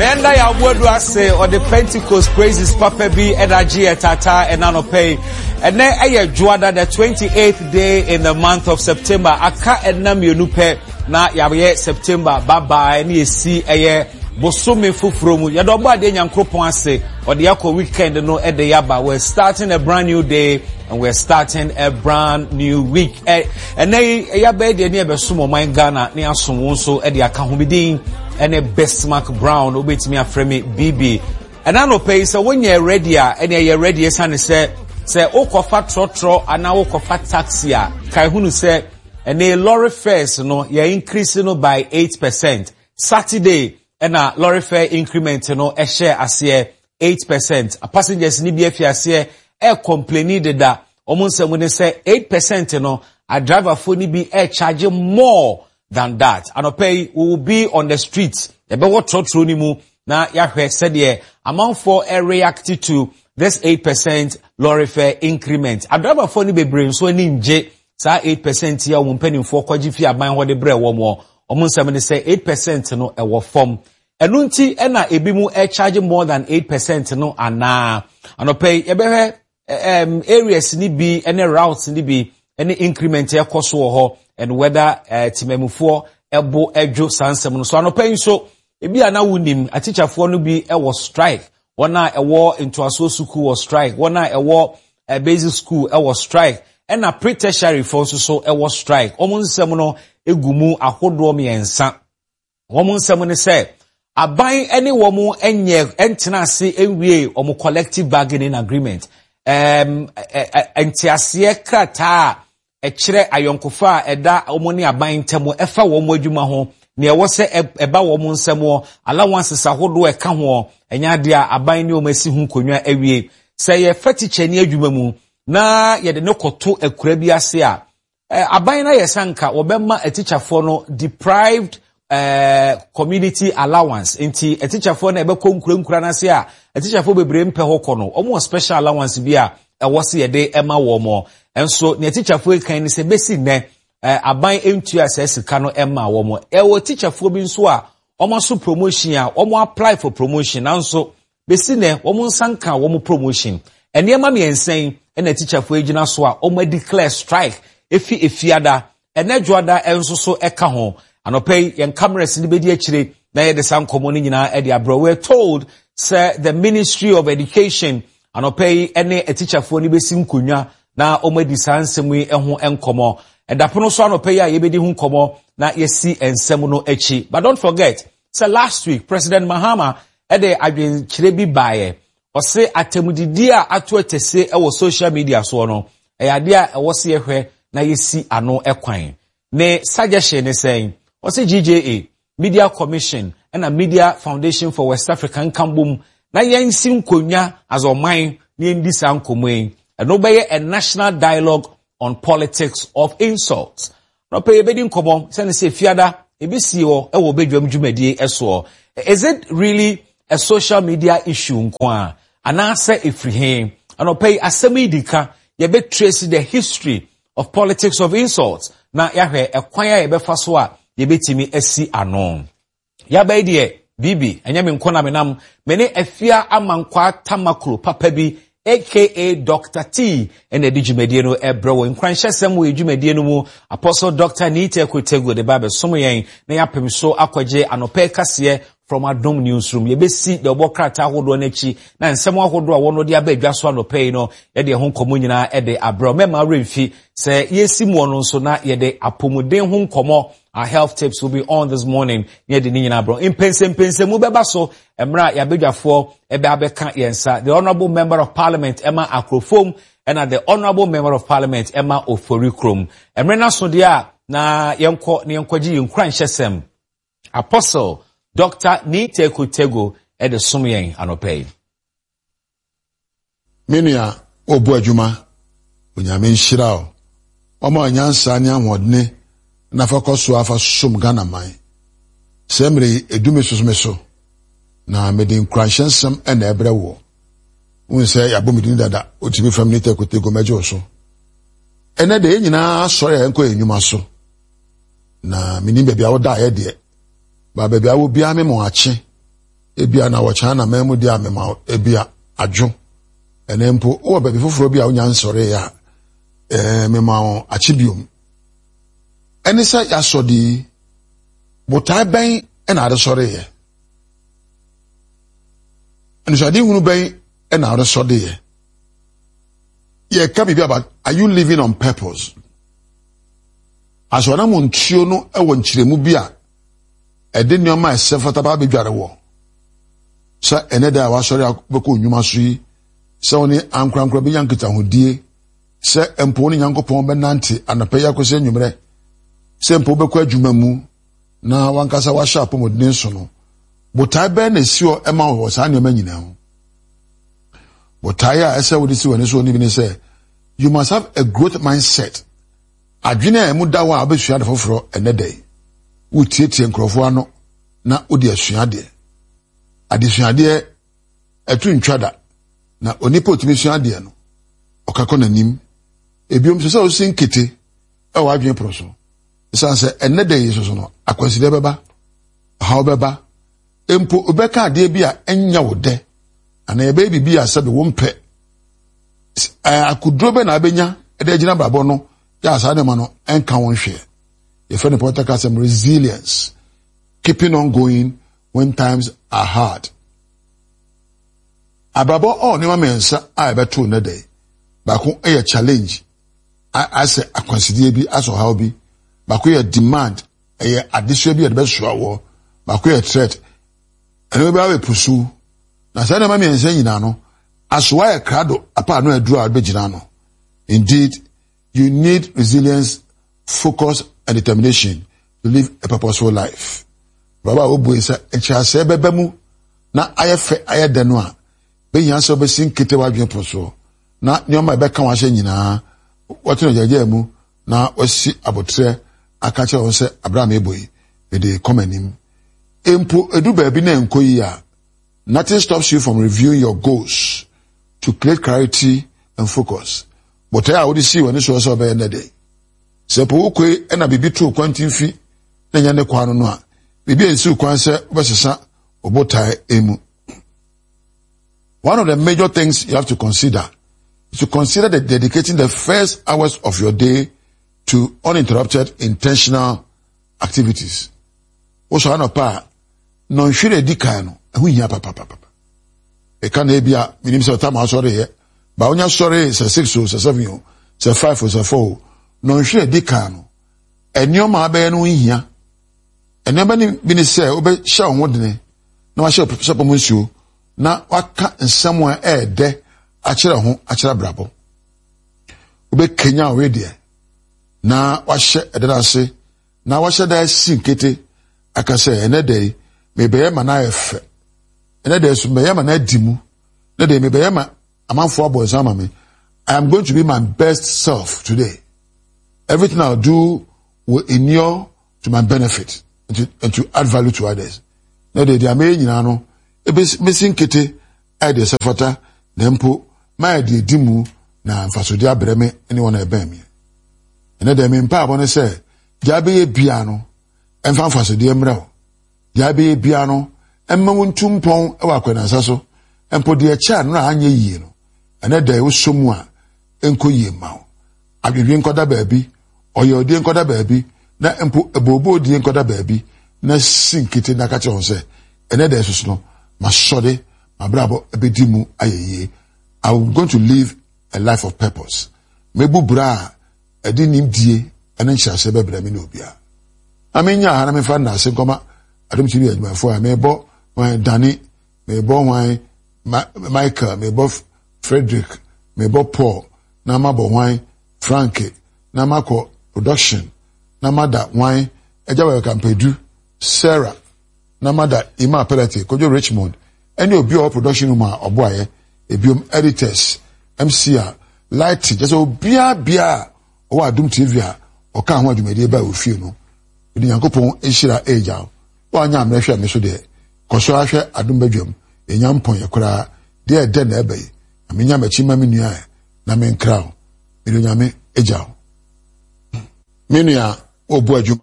Menda yɛ aboadu ase ɔde Pentecost praises papa bi ɛna agye yɛ tata ɛna nɔpɛ yi. Ɛnɛ ɛyɛ Dwoada the 28th day in the month of September. Aka ɛna mmienu pɛ na yɛayɛ September bye ne yɛsi ɛyɛ bosome foforɔ mu. Yɛde ɔbɔ adeɛ Nyankoropɔn ase ɔde akɔ weekend no ɛde yaba. We're starting a brand new day and we're starting a brand new week. Ɛnɛ yi yɛabɛyɛ deɛ ne yɛbɛsom ɔman Ghana ne asom wo nso de aka ho. Me din ɛne Bismarck Brown, wobɛtumi afrɛ me BB. Ɛna anɔpa yi sɛ wonyɛ ready a ɛne ɛyɛ ready ɛsiane sɛ sɛ wokɔfa trɔtrɔ anaa wokɔfa taxi a kae hunu sɛ ɛne lorry fares no yɛ increase no by 8%. Saturday ɛna lorry fare increment no ɛhyɛ aseɛ 8%. Passengers no bi afi aseɛ ɛrekɔmpleni deda. Wɔn nsɛm ne sɛ 8% no, adriverfoɔ no bi ɛrecharge more than that. Anɔpa yi, we will be on the street. Yɛbɛwɔ trɔtrɔ no mu na yɛahwɛ sɛdeɛ amanfoɔ ɛreact to this 8% lorry fare increment. Adriverfoɔ no bebree nso ani ngye saa 8% yi a wɔn mpanimfoɔ kɔgye fi aban hɔ de brɛ wɔn. Wɔn nsɛm ne sɛ 8% no ɛwɔ fam. Ɛno nti na ebinom charge more than 8% no anaa? Anɔpa yi yɛbɛhwɛ um, areas ni bi ne routes ni bi ne increment ɛkɔ so wɔ hɔ and whether uh, temamufoɔ ɛbo ɛdwo saa nsɛm no so. Anɔpa yi nso ebi a na wonim atikyafoɔ no bi ɛwɔ strike, wɔn a ɛwɔ ntoasoɔ sukuu wɔ strike, wɔn a ɛwɔ uh, basic school ɛwɔ strike, ɛna pre-tertiary foɔ nso so ɛwɔ strike. Wɔn nsɛm no egu mu ahodoɔ mmiɛnsa. Wɔn nsɛm ne sɛ aban ne wɔn nyɛ ntena ase nwie wɔn collective bargaining agreement, um, nteaseɛ krataa a ɛkyerɛ ayɔnkofa a ɛda wɔn ne aban ntam ɛfa wɔn adwuma ho, nea ɛwɔ sɛ ɛba wɔn nsam wɔ allowances ahodoɔ ɛka ho, ɛnyɛ adeɛ a aban ne wɔn asi ho nkonnwa awie. Sɛ yɛfa tikyani adwuma mu na yɛde no kɔto akura bi ase a, Aban no ayɛ sɛ anka wɔbɛma atikyafoɔ no deprived eh, community allowance. Nti atikyafoɔ no ɛbɛkɔ nkurankura no ase a atikyafoɔ bebree mpɛ hɔ kɔ no, wɔn wɔ special allowance bi a ɛwɔ sɛ yɛde ɛma wɔn. Nso nea atikyafoɔ yi kan ne sɛ bɛsi nnɛ eh, aban ntua saa sika no ɛma wɔn. Ɛwɔ atikyafoɔ bi nso a wɔn aso promotion a wɔn apply for promotion, nanso Besi nnɛ, wɔn nsa nkaa wɔn promotion. Nneɛma mmiɛnsa yi na atikyafoɔ yi gyina so a wɔn declare strike efi Efiada, ɛnɛ Dwoada nso so ɛka ho. Anɔpa yi, yɛn cameras no bɛdi akyire na yɛde saa nkɔmmɔ no nyinaa de abrɛ. We are told sɛ the Ministry of Education anɔpa yi ne atikyafoɔ no bɛsi nkonnwa na wɔadi saa nsɛm yi ho nkɔmmɔ. Ɛdapono so anɔpa yi a yɛbɛdi ho nkɔmmɔ na yɛasi nsɛm no akyi. But don't forget sɛ last week President Mahama de adwenkyerɛ bi baeɛ. Ɔse atɛmdidie a ato atɛse wɔ social media soɔ no, ɛyɛ adeɛ a ɛwɔ sɛ yɛhwɛ na yɛsi ano kwan. Ne suggestion ne sɛn? Ɔse GJA, Media Commission ɛna Media Foundation for West Africa nka mbom na yɛnsi nkonnwa as ɔman na yɛndi saa nkɔmmɔ yi. Ɛno bɛyɛ a national dialogue on politics of insults. Nɔpɛ yɛbɛdi nkɔmmɔ sɛne sɛ fiada ɛbɛsie hɔ ɛwɔ badwam dwumadie ɛsoɔ. Is it really a social media issue nko a anaasɛ ɛfiri he? Anɔpɛ yi asɛm yi di ka, yɛbɛtrace the history of politics of insults na yɛahwɛ ɛkwan a yɛbɛfa so a yɛbɛtumi asi ano. Yaba yi deɛ, Bibi, ɛnyɛ me nko na menam. Me ne Afia Amankwaa Tamaklo papa bi, aka Doctor T, ɛna ɛde dwumadie no ɛbrɛ wɔ nkuranhyɛsɛm wɔ dwumadie no mu. Apostle Doctor Nita Kotego de ba abɛsom yɛn na yɛapem so akɔgye anɔpɛ kaseɛ from Adom Newsroom. Yɛbɛsi deɛ ɔbɔ krataa ahodoɔ no akyi na nsɛm ahodoɔ a wɔn de aba adwa so anɔpɛ yi no, yɛde ɛho nkɔmmɔ nyinaa ɛde abrɛ. Mɛma werɛ mfi sɛ yɛsi muɔ no nso na yɛde apɔmuden ho nkɔmmɔ. Our health tips will be on this morning. Ne yɛde ne nyinaa brɛ. Mpɛnsɛmpɛnsɛmu bɛba so mmerɛ a yɛabadwafoɔ ɛbɛ abɛka yɛn nsa. The Honourable Member of Parliament ɛma Akorofom ɛna the Honourable Member of Parliament ɛma Ofori Kurom. Mmerɛ no aso deɛ a na yɛnkɔ na yɛnkɔgye yɛn nkuranhyɛsɛm. Apostle Dr. Nii Teku Tego ɛde som yɛn anɔpa yi. Me nua, worebɔ adwuma. Onyame nhyira wo. Ɔma wo nyansa ne ahoɔdene na fa kɔ so ara fa som Ghana man. Saa mmerɛ yi, ɛdu me so me so, na mede nkuranhyɛ nsɛm na ɛbrɛ woɔ. Wohu sɛ yɛabɔ me din dada, wotumi frɛ me Nita Kotego, mɛgye wo so. Ɛnɛ deɛ yɛn nyinaa asɔre a yɛnkɔ yɛn nnwuma so, na menim baabi a wodaeɛ deɛ, ba baabi a wɔ biara me mo akye. Ebia na wɔ China man mu deɛ a mema wo ebia adwo. Ɛnɛ mpo wowɔ baabi foforɔ bi a wonya nsɔreeɛ a, ɛɛ mema wo akye biom. Ɛne sɛ yɛasɔ de yi, botae bɛn na ade sɔreeɛ? Anisoadehunu bɛn na ade sɔdeeɛ? Yɛka biribi about are you living on purpose? Asɔre mu ntuo no wɔ nkyerɛmu bi a ɛde nneɛma a ɛsɛ fata ba abɛdware wɔ sɛ ɛnɛ da a wasɔre akɔbɛkɔ nnwuma so yi sɛ wo ne ankorankora bɛnya nkitahodie sɛ mpo wo ne Nyankopɔn bɛnante anɔpa yi akɔsi anwummerɛ sɛ mpo wobɛkɔ adwuma mu na wankasa wahyɛ apɔmuden so no botae bɛn na esi hɔ ɛma wɔ saa nneɛma nyinaa ho botae a ɛsɛ wode si w'ani so ne bi ne sɛ you must have a growth mindset Adwene a emu da hɔ a wobɛsua ade foforɔ ɛnnɛ da yi. Wotietie nkurɔfoɔ ano na wode asua adeɛ. Adesuadeɛ ɛto ntwa da, na onipa otumi sua adeɛ no, ɔka kɔ n'anim. Ebiom nso sɛ wosi nkete ɛwɔ adwene pono so. Ɛsiane sɛ ɛnnɛ da yi soso no, akwansideɛ bɛba, ɔhaw bɛba, mpo wobɛka adeɛ bi a ɛnyɛ wo dɛ anaa ɛbɛyɛ biribi a sɛbe wompɛ. Akoduro bɛ na abɛnya de agyina abrabɔ no yɛ a saa nneɛma no ɛnka wɔn hwɛ. Yɛfrɛ no pɔtɛ kasɛm resilience, keeping on going when times are hard. Abrabɔ ɔ nneɛma mmiɛnsa a ɛbɛto nnɛ dɛ. Baako yɛ challenge, asɛ akwansideɛ bi, asɛ ɔhaw bi. Baako yɛ demand, ɛyɛ adesoa bi a yɛde bɛsoa wɔ. Baako yɛ threat, ɛno bi abɛpusu. Na saa nneɛma mmiɛnsa nyinaa no, asoa yɛ krado apa ano aduru a wobɛgyina ano. Indeed, you need resilience, focus, and determination to live a purposeful life. Baba a wobue sɛ nkyerɛaseɛ bɛba mu na ayɛ fɛ ayɛ dɛ no a, bɛhia sɛ wobɛsi nkete w'adwene pono soɔ na nneɛma a ɛbɛka w'ahyɛ nyinaa wɔte no gyagyaa mu na wasi aboterɛ aka kyerɛ wɔn sɛ abere a mebɔ yi mede kɔ m'anim. Mpo edu baabi na ɛnkɔ yie a, nothing stops you from reviewing your goals to create clarity and focus. Botae a wode sii w'ani soɔ sɛ wobɛyɛ nnɛ de. Sɛ po wokoe na biribi too kwantimfi na ɛnyɛ ne kwan no no a, biribi ansiw kwan sɛ wobɛsesa wo botae mu. One of the major things you have to consider is to consider the dedicating the first hours of your day to uninterrupted intentional activities. Wosɔre anɔpa a, nnɔnhwere a edi kan no, ɛho hia papapapa. Ɛka na ebi a menim sɛ ɔtam asɔre yɛ, ba wonya sɔre sɛ six o, sɛ seven o, sɛ five o, sɛ four o, nnɔnhwere a edi kan no, nneɛma a abɛyɛ no ho hia. Nneɛma no bi ne sɛ wobɛhyɛ wo ho dene na wahyɛ sɛpɔ mu nsuo na waka nsɛm a ɛyɛ dɛ akyerɛ ho akyerɛ abrabɔ. Wobɛkanya wo wedeɛ na wahyɛ ɛda no ase na wahyɛ da asi nkete aka sɛ ɛnɛ da yi mebɛyɛ ma no ayɛ fɛ. Ɛnɛ da yi so mebɛyɛ ma no adi mu. Ɛnɛ da yi mebɛyɛ ma amanfoɔ abɔ nsa ama me. I am going to be my best self today. Everything I'll do will inure to my benefit and to, and to add value to others. Na deɛ deɛ mɛyɛ nyinaa no, ebesi nkete ayɛ deɛ ɛsɛ fata na mpo mayɛ deɛ edi mu na mfasodeɛ abrɛ me ne wɔn a ɛbɛn me. Ɛnɛ deɛ me mpaabɔ ne sɛ deɛ abɛyɛ biara no ɛmfa mfasodeɛ mmerɛ wo. Deɛ abɛyɛ biara no ɛmma wo ntu mpɔn wɔ akwanansa so. Mpo deɛ ɛkyɛ a no a anyɛ yie no, ɛnɛ deɛ wosɔ mu a ɛnkɔ yie mma wo. Adwendwen nkɔda baabi, ɔyawdie nkɔda baabi, na mpo abooboodie nkɔda baabi, na si nkete na ka kyerɛ wɔn sɛ, ɛnɛ da yi no, masɔre, m'abrabɔ bɛdi mu ayɛ yie. I'm going to live a life of purpose. Mɛbu bra a ɛde nimdie ne nhyɛaseɛ bɛbrɛ me ne obiara. Na menya ha na memfa nnaase nkɔma Adom TV adwumayɛfoɔ a mebɔ hwan Dani, mebɔ hwan Michael, mebɔ Frederick, mebɔ Paul, na mabɔ hwan Frank, na makɔ production, na mada hwan Agya Wɛwɛka Mpadu, Sarah, na mada Ima Pelete, Kojo Richmond, ɛne obi a ɔwɔ production room a ɔboaeɛ, ebiom editors, MC a, lighting, kyerɛ sɛ obiara biara a ɔwɔ Adom TV a ɔka ho adwumadie baa ofie no, mede Nyankopɔn nhyira ɛregya wo. Woanyɛ ammerɛ hwɛ me so deɛ, kɔ so ara hwɛ Adom badwam, yɛnya mpɔnyɛ koraa, deɛ ɛdɛ na ɛba yi, na menya m'akyi ma me nua ɛ, na menkra wo. Mede Onyame agya wo. Me nua, wobu adwuma.